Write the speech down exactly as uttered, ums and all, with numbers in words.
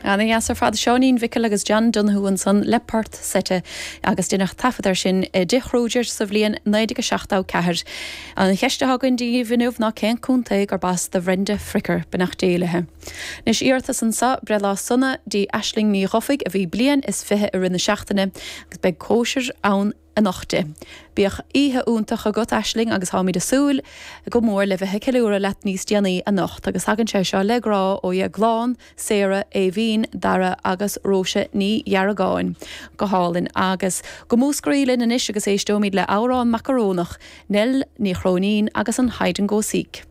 Ana-dheas ar fad Seáinín Mhicil agus John Donoghue ansan le port seite agus deineadh taifead air sin i dTigh Kruger sa bhliain naoi déag seachtó ceathair. An cheist atá againn daoibh inniu ná cén contae gurb as do Bhrenda Fricker beannacht Dé léi. Anois iarratas anseo breithlá sona do Aisling Ní Dhufaigh a bhí bliain is fiche i rith na seachtaine agus beidh cóisir ann anocht di. Bíodh oíche iontach agat Aisling agus táimid ag súil go mór le bheith ag ceiliúradh leat níos déanaí anocht agus tagann sé seo le grá ó Dheaglán, Sarah, Éibhín, Dara agus Róise Ní Dheargáin go hálainn agus go Múscraí linn anois agus éisteoimid le amhrán macarónach, Nell Ní Chróinín agus an Hide and Go Seek.